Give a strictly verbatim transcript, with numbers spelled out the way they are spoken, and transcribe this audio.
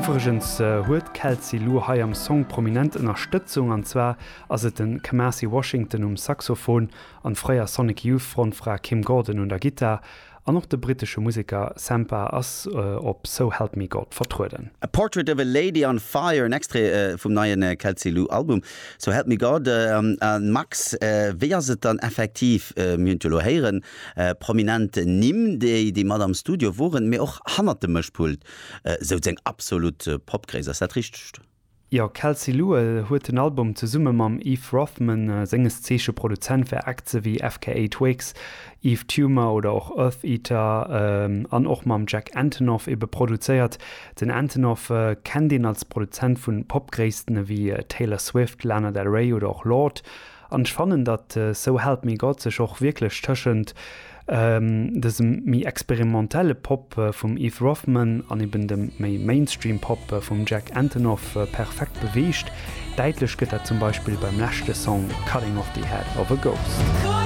Iwwregens huet Kelsey Lu hei am Song prominent Ënnerstëtzung an zwar ass et den Kamasi Washington um Saxophon an fréier Sonic Youth Frontfra Kim Gordon un der Gittar an och de brittesche Museker Sampha ass äh, op So Help Me God vertrueden. A Portrait of a Lady on Fire en Extrait äh, vum neien äh, Kelsey Lu Album. So Help Me God äh, äh, Max äh, wéi ass et dann effektiv äh, mir hunn héieren äh, prominent Nimm déi déi mat am Studio woren mee och hannert dem Mëschpult äh, sou eng absolut äh, Popgréisst ass dat richteg? Jo Kelsey Lu äh, huet den Album zesumme mam Yves Rothman äh, senges Zeeche Produzent fir Acts wéi FKA Twigs, Yves Tumor oder och Eartheater ähm, an och mam Jack Antonoff ebe produzéiert. Den Antonoff äh, kennt een als Produzent vun Popgréissten wéi äh, Taylor Swift, Lana Del Rey oder och Lorde. An ech fannen dat äh, So Help Me God sech och wierklech tëschent ähm, dësem méi experimentelle Pop äh, vum Yves Rothman an eben dem méi Mainstream Pop äh, vum Jack Antonoff äh, perfekt beweegt. Däitlech gëtt dat zum Beispill beim leschte Song Cutting off the Head of a Ghost.